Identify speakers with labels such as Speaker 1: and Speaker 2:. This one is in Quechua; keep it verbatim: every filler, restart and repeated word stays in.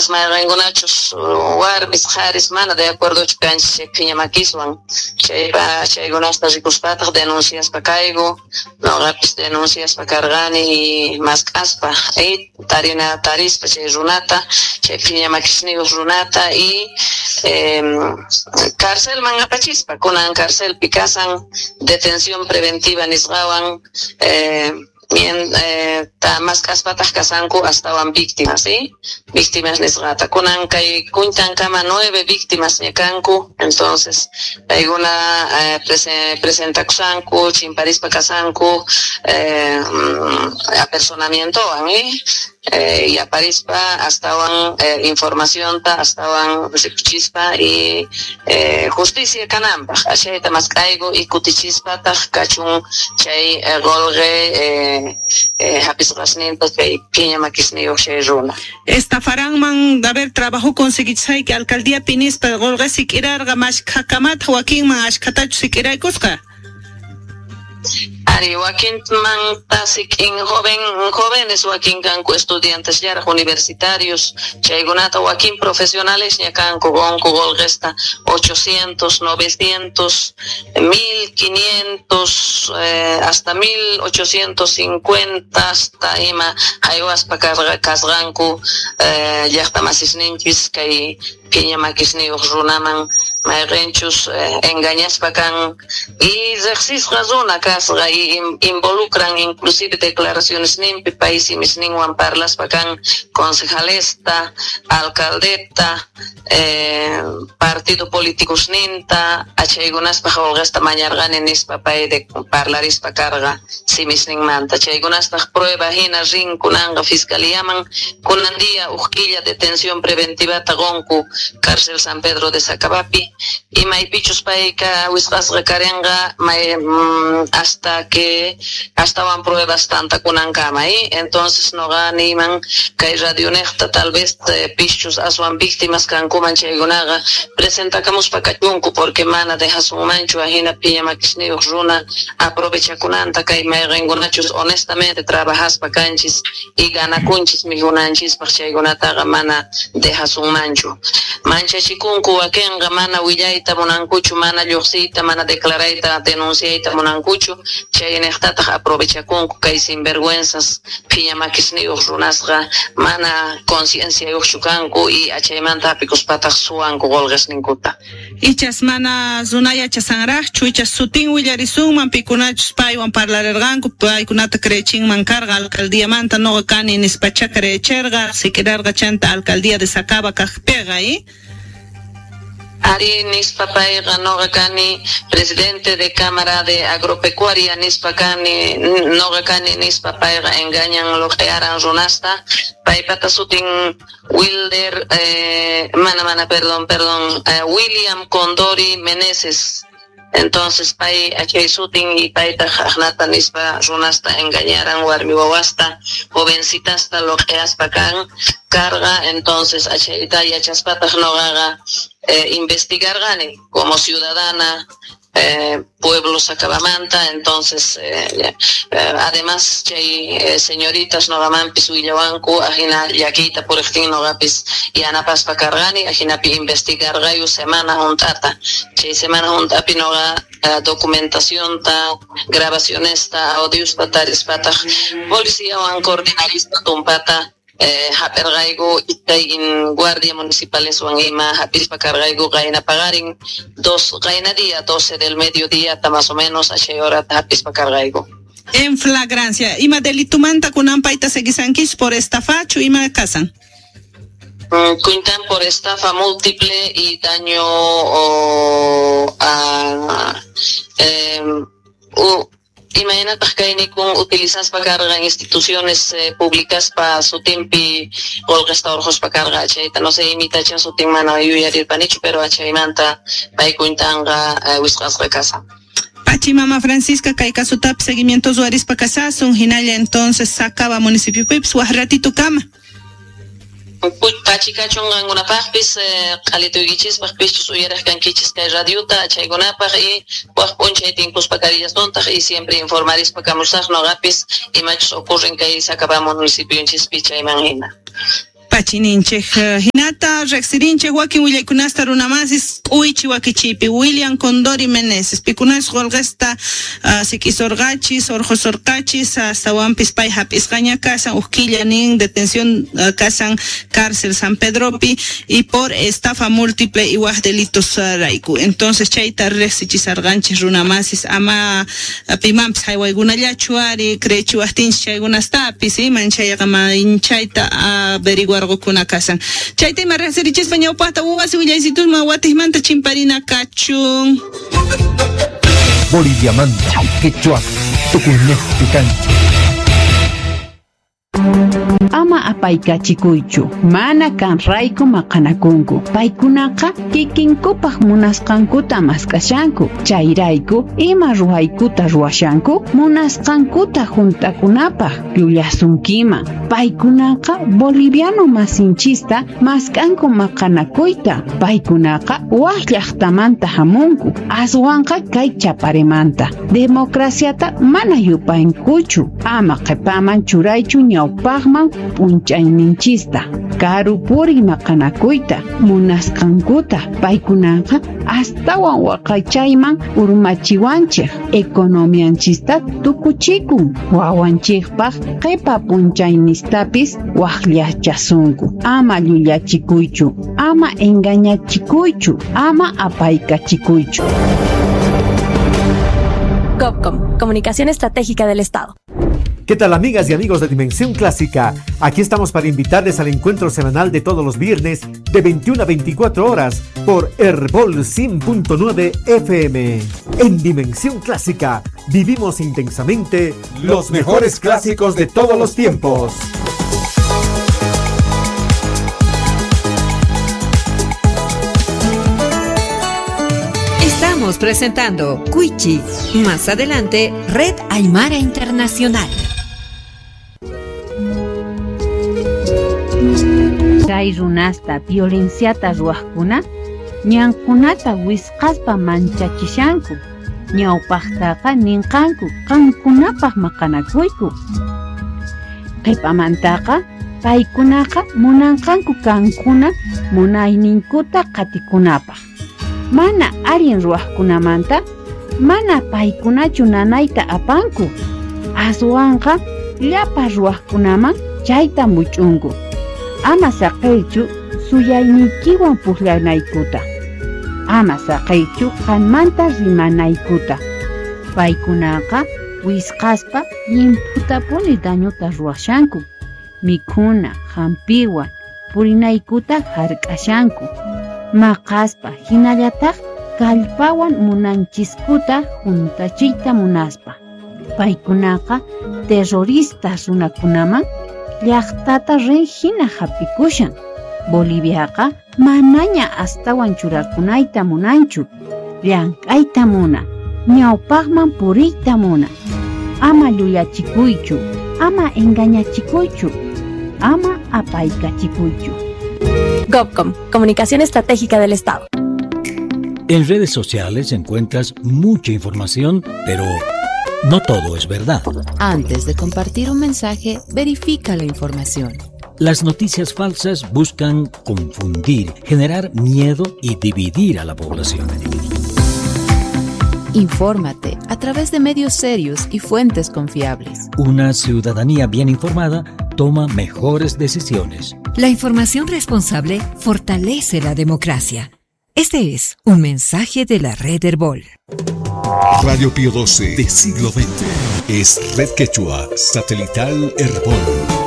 Speaker 1: Mayqenkunachus warmis qharis mana de acuerdochu kanchis chay phiña makiswan, chaypa chaykunasta rikuspataq denunciaspa kayku. Noqapis denunciaspa karqani y mask'aspa y tarina tarispa chay runata, chay phiña makisniyuq runata, y eh, carcelman apachispa. Kunan carcelpi kasan detención preventiva nisqawan. eh, Bien, eh, ta mask'aspataq kasanku astawan víctimas, ¿sí? Víctimas nisqata. Kunan kay kuntankama nueve víctimas ña kanku, entonces paykuna eh, prese, presentakusanku, chimparispa kasanku, eh, mm, apersonamientowan, ¿eh? Eh, y aparispa astawan eh, informacionta astawan rikuchispa y eh, justicia kananpaq ashayta mask'ayku y kutichispataq kachun chay eh, qolqe eh, eh, hapisqasninta chay phiña makisniyuq chay runa.
Speaker 2: Estafaranman, a ver, trabajo conseguichayki alcaldía pinispa qolqe sik'irarqa, mashkhakamataq wakinman, ashkhatachu sik'iraykusqa?
Speaker 1: Ari, wakinmanta sik'in joven, jóvenes, wakin kanku estudiantes llaraq universitarios, chaykunata wakin profesionales ña kanku, qonku qolqesta ochocientos, novecientos, mil quinientos, eh, hasta mil ochocientos cincuenta hasta ima haywaspa karqa kasqanku eh, llaqta masisninchis kay phiña makisniyuq runaman, mayqinchus eh, engañaspa kan y riqsisqa runa kasqa y involucran inclusive declaraciones ninpi pay simisninwan parlaspa kan concejalesta, alcaldeta, eh, partido políticosninta, achaykunaspaq qolqesta mañarqani nispa pay de parlarispa karqa simisninmanta. Chaykunastaq prueba hina rin kunanqa fiscaliaman. Kunan día uj killa detención preventivata qonku cárcel San Pedro de Sacabapi y maypichus payka wisq'asqa karinqa may, mm, hasta que astawan pruebas tantakunankama, ¿eh? Entonces noqa niyman kay radionejta, tal vez eh, pischus aswan víctimas kankuman chaykunaqa presentakamuspa kachunku, porque mana dejasunmanchu ajina phiña makisniyuq runa aprovechakunanta kay mayqinkunachus honestamente trabajaspa kanchis y ganakunchis mikhunanchispaq, chaykunataqa mana dejasunmanchu. Manchachikunku wakinqa, mana willayta munankuchu, mana lluqsiyta, mana declarayta, denunciayta munankuchu. Chayniqtataq aprovechakunku kay sinvergüenzas phiña makisniyuq runasqa, mana concienciayuqchu kanku y achaymanta hapikuspataq suwanku qolqesninkuta.
Speaker 2: Ichas mana runa yachasanraqchu, ichas sutin willarisunman pikunachus paywan parlarirqanku, paykunata creechinman karqa alcaldíamanta noqa kani nispacha creecherqa, sik'irarqa chanta alcaldía de Sacaba kaqpiqa, ¿eh?
Speaker 1: Ari, nispa payqa noqa kani presidente de Cámara de Agropecuaria nispa kani, noqa kani nispa payqa engañan, loqearan runasta. Paypata sutin Wilder, eh, mana mana perdón, perdón, eh, William Condori Meneses. Entonces pay achay sutin y payta aqnata nispa runasta engañaran, warmi wawasta, jovencitasta loqeaspa kan karqa. Entonces achayta yachaspataq noqaqa eh, investigarqani como ciudadana eh, pueblo Sacabamanta. Entonces eh, eh, además chay eh, señoritas noqamanpis willawanku ajina llakiyta puriqtin noqapis yanapaspa karqani. Ajinapi investigarqayu semana hunt'ata. Chay semana hunt'api noqa eh, documentacionta, grabacionesta, audiosta tarispataq policiawan coordinarispa tumpata eh, hap'irqayku iskay guardia municipaleswan ima hap'ispa karqayku qayna paqarin dos qayna día doce del mediodía más o menos achay horata hap'ispa karqayku.
Speaker 2: En flagrancia, ima delitumanta kunan payta seguisankis, por estafachu, ima kasan?
Speaker 1: Mm, Cuentan por estafa múltiple y daño o, a eh, u, imaynataq kaynikun utilizaspa karqa instituciones eh, públicas pa sutinpi qolqesta urquspa karqa. Chayta no sé imitacha sutin mana yuyarirpanichu, pero achaymanta pay cuentanqa eh, wisq'asqa kasan.
Speaker 2: Pachi mama Francisca, kay kasutapi seguimiento ruwarispa kasasun hinalla entonces Sacaba municipio pipis waj ratito kama.
Speaker 1: Pachi kachun qankunapaqpis, eh, q'alituykichispaq pischus uyaraq kankichis kay radiota chaykunapaq y waj p'unchay tinkuspa karillasuntaq y siempre informarispa kamusaq noqapis imachus ocurren kay Sacaba municipionchispi chayman hina.
Speaker 2: Pachininchik hinata riqsirinchik wakin willaykunasta runamasis k'uychi wakichipi William Condori Meneses pikunas qolqesta uh, sik'isorqachis orqosorqachis astawanpis pay hap'isqaña kasan uj killa nin detención uh, kasan cárcel San Pedropi y por estafa múltiple y waj delitos uh, rayku. Entonces chayta riqsichisarqanchis runamasis ama uh, pimanpis haywaykunallachu ari creechiwaqtinchis chaykunastapis iman chayqa manchayta averiguar kuna kasan. Chayta ima riqsirichispa ñawpaqta wasi willaysitusman watijmanta chimparina kachun.
Speaker 3: Boliviamanta, quechua, tukuynejpi kanchik.
Speaker 4: Ama apaykachikuychu, mana kanrayku maqanakunku. Paykunaqa kikinkupaq munasqankuta mask'ashanku. Chayrayku ima ruwaykuta ruwashanku munasqankuta juntakunapaq llullasunkiman. Paykunaqa boliviano masinchista mask'anku maqanakuyta. Paykunaqa waj llaqtamanta hamunku, aswanqa kay chaparemanta. Democraciata mana yupankuchu. Ama qhipaman churaychu ñawpaqman p'unchayninchista. Karu puriy maqanakuyta munasqankuta. Paykunaqa astawan waqaychayman urmachiwanchik. Economianchista tukuchikun. Wawanchikpaq qhipa p'unchaynistapis waqllachasunku. Ama llullachikuychu, ama engañachikuychu, ama apaykachikuychu.
Speaker 5: GovCom, Comunicación Estratégica del Estado.
Speaker 6: ¿Qué tal, amigas y amigos de Dimensión Clásica? Aquí estamos para invitarles al encuentro semanal de todos los viernes de veintiuna a veinticuatro horas por Herbol cien punto nueve F M. En Dimensión Clásica vivimos intensamente los mejores clásicos de todos los tiempos.
Speaker 7: Estamos presentando Cuichi. Más adelante, Red Aymara Internacional.
Speaker 4: Kay runasta violenciata ruwaqkuna ñankunata wisqaspa manchachishanku. Ñawpaqtaqa ninqanku qankunapaq maqanakuyku. Qhipamantaqa paykunaqa munanqanku kankuna munayninkuta qatikunapaq. Mana allin ruwaqkunamanta mana paykunachu nanayta apanku. Aswanqa llapa ruwaqkunaman chayta much'unku. Ama saqiychu suyayniykiwan puqllanaykuta. Ama saqiychu qanmanta rimanaykuta. Paykunaqa wisqaspa llimphutapuni dañuta ruwashanku. Mikhuna, hampiwan purinaykuta hark'ashanku. Maqaspa hinallataq kallpawan munanchiskuta juntachiyta munaspa. Paykunaqa terroristas runakunaman llaqtata rin hina hapikushan. Boliviaqa manaña astawan churakunayta munanchu. Llank'ayta muna, ñawpaqman puriyta muna. Ama llullachikuychu, ama engañachikuychu, ama apaykachikuychu.
Speaker 5: GovCom, Comunicación Estratégica del Estado.
Speaker 8: En redes sociales encuentras mucha información, pero no todo es verdad.
Speaker 9: Antes de compartir un mensaje, verifica la información.
Speaker 8: Las noticias falsas buscan confundir, generar miedo y dividir a la población.
Speaker 9: Infórmate a través de medios serios y fuentes confiables.
Speaker 8: Una ciudadanía bien informada toma mejores decisiones.
Speaker 7: La información responsable fortalece la democracia. Este es un mensaje de la Red Herbol.
Speaker 10: Radio Pío doce de siglo veinte es Red Quechua Satelital Herbol.